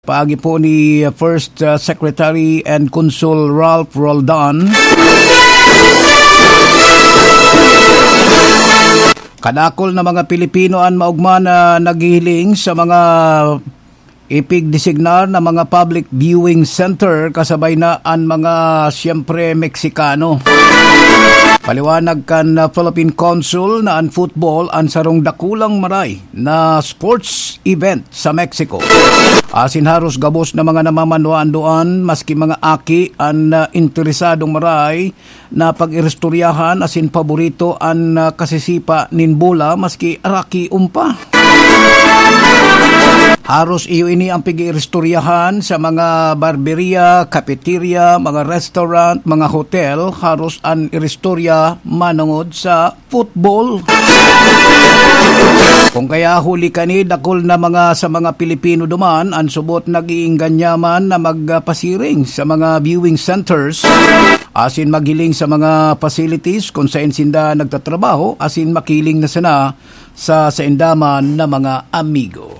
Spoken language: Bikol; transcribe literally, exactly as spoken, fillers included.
Paagi po ni First, uh, Secretary and Consul Ralph Roldan, kadakol na mga Pilipino an maogma na naghihiling sa mga ipigdesignar na mga public viewing center, kasabay na an mga, siyempre, Meksikano. Paliwanag kan, uh, Philippine Consul na an football an sarong dakulang maray na sports event sa Mexico. Asin haros gabos na mga namamanwaan duan, maski mga aki an, ah, interesadong maray na pag-iristoryahan asin paborito an, ah, kasisipa nin bola, maski araki umpa. Haros iyo ini ang pag-iristoryahan sa mga barberia, cafeteria, mga restaurant, mga hotel. Haros an iristorya manongod sa football. Kung kaya huli kani, dakul na mga sa mga Pilipino duman an subot nag-iingganyaman na magpasiring sa mga viewing centers asin maghiling sa mga facilities kung saen sinda nagtatrabaho asin makiling na sana sa sainda man na mga amigo.